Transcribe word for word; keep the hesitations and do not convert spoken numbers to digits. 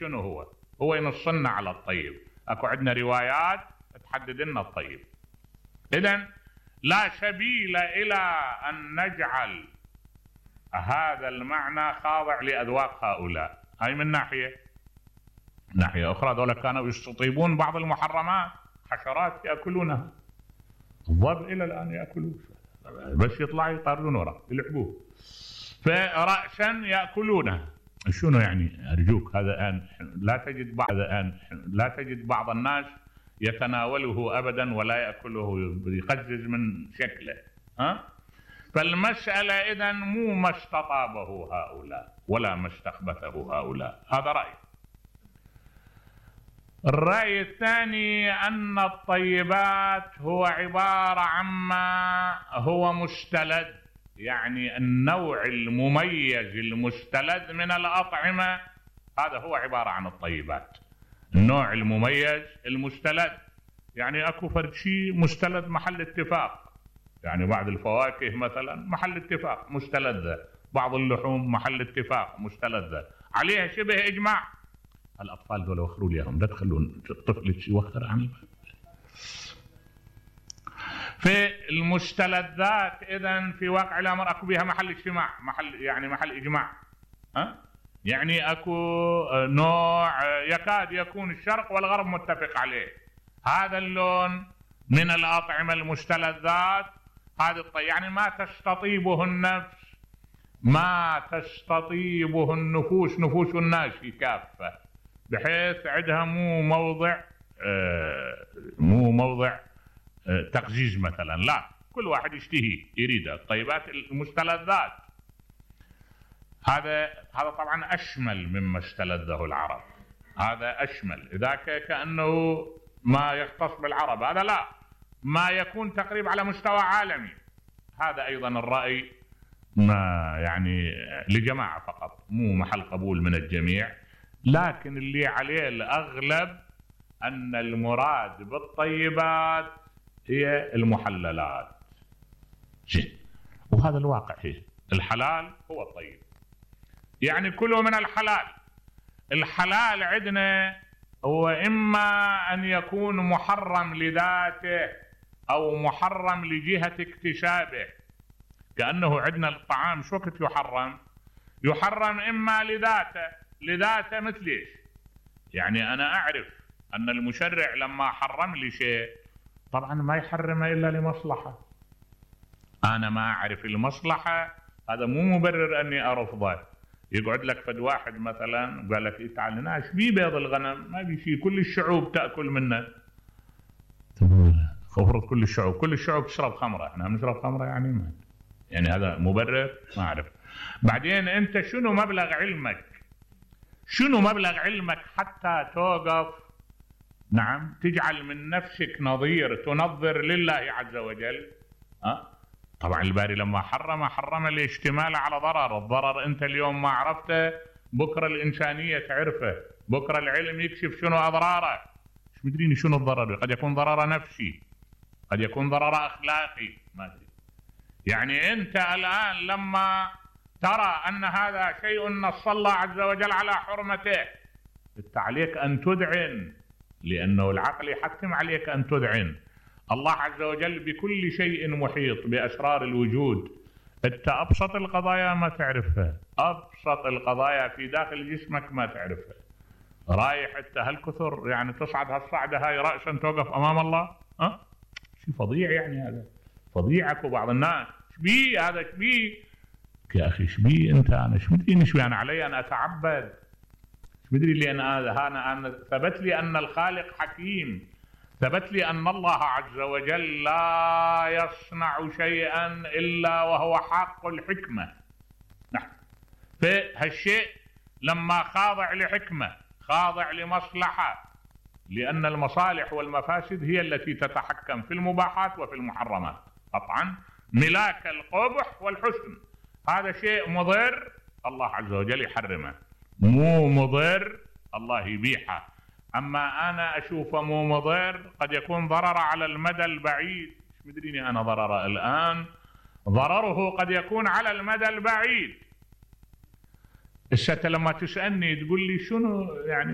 شنو هو؟ هو ينصنا على الطيب. اكو عندنا روايات تحدد لنا الطيب. اذن لا سبيل الى ان نجعل هذا المعنى خاضع لاذواق هؤلاء. هاي من ناحيه. ناحيه اخرى ذولا كانوا يستطيبون بعض المحرمات، حشرات ياكلونها. الظب الى الان ياكلوه، بس يطلع يطاردون وراه يلعبوه. فرأسا ياكلونه. شنو يعني؟ ارجوك هذا الان لا تجد بعض الان لا تجد بعض الناس يتناوله ابدا ولا ياكله، يقزز من شكله. ها؟ فالمساله اذا مو ما استطابه هؤلاء ولا ما استخبثه هؤلاء. هذا راي. الراي الثاني ان الطيبات هو عباره عما هو مستلذ، يعني النوع المميز المستلذ من الأطعمة، هذا هو عبارة عن الطيبات. النوع المميز المستلذ، يعني اكو فرد شيء مستلذ محل اتفاق، يعني بعض الفواكه مثلا محل اتفاق مستلذة، بعض اللحوم محل اتفاق مستلذة، عليها شبه اجماع. الاطفال دول وخروا لي اياهم، لا تخلون الطفل يوخر عن الباب. في المستلذات اذا في واقع الامر اكو بها محل اجتماع، محل يعني محل اجماع. ها؟ يعني اكو نوع يكاد يكون الشرق والغرب متفق عليه. هذا اللون من الاطعمه المستلذات، هذه الطيب، يعني ما تستطيبه النفس، ما تستطيبه النفوس، نفوس الناس كافه، بحيث عندها مو موضع آه مو موضع تقزيز مثلا، لا، كل واحد يشتهي يريده. الطيبات المستلذات هذا هذا طبعا اشمل مما استلذه العرب، هذا اشمل. ذاك كانه ما يختص بالعرب، هذا لا، ما يكون تقريبا على مستوى عالمي. هذا ايضا الراي ما يعني لجماعه فقط، مو محل قبول من الجميع، لكن اللي عليه الاغلب ان المراد بالطيبات هي المحللات. زين، وهذا الواقع، هي الحلال هو الطيب، يعني كله من الحلال. الحلال عندنا هو اما ان يكون محرم لذاته او محرم لجهة اكتسابه. كأنه عندنا الطعام شو وقت يحرم؟ يحرم اما لذاته، لذاته مثل ايش؟ يعني انا اعرف ان المشرع لما حرم لي شيء طبعا ما يحرمه الا لمصلحه. انا ما اعرف المصلحه، هذا مو مبرر اني ارفضه. يقعد لك فد واحد مثلا قال لك إيه تعال لنا ايش بيه بيض الغنم؟ ما بي شيء، كل الشعوب تاكل منه. افرض كل الشعوب كل الشعوب تشرب خمره، احنا نشرب خمره يعني ما يعني هذا مبرر؟ ما اعرف. بعدين انت شنو مبلغ علمك؟ شنو مبلغ علمك حتى توقف نعم تجعل من نفسك نظير تنظر لله عز وجل؟ أه؟ طبعا الباري لما حرم حرم الاشتمال على ضرر. الضرر انت اليوم ما عرفته، بكره الانسانيه تعرفه، بكره العلم يكشف شنو اضراره. مش مدرين شنو الضرر، قد يكون ضرر نفسي، قد يكون ضرر اخلاقي، ما ادري. يعني انت الان لما ترى ان هذا شيء نص الله عز وجل على حرمته، انت عليك ان تذعن، لأنه العقل يحتم عليك أن تذعن. الله عز وجل بكل شيء محيط بأسرار الوجود. أنت أبسط القضايا ما تعرفها، أبسط القضايا في داخل جسمك ما تعرفها. رايح أنت هالكثر يعني تصعد هالصعدة هاي رأسا توقف أمام الله؟ أه؟ شيء فظيع يعني، هذا فظيعك. وبعض الناس شبيه هذا شبيه يا أخي، شبيه أنت؟ أنا شمدري شبيه، أنا علي أن أتعبد، مدري لي أنا هذا أنا أنا ثبت لي أن الخالق حكيم، ثبت لي أن الله عز وجل لا يصنع شيئا إلا وهو حق الحكمة. نعم، فهالشيء لما خاضع لحكمة، خاضع لمصلحة، لأن المصالح والمفاسد هي التي تتحكم في المباحات وفي المحرمات. قطعا ملاك القبح والحسن، هذا شيء مضر الله عز وجل يحرمه، مو مضر الله يبيحه. اما انا اشوفه مو مضر، قد يكون ضرر على المدى البعيد، مش مدريني انا ضرره الان، ضرره قد يكون على المدى البعيد. الشتى لما تسألني تقول لي شنو يعني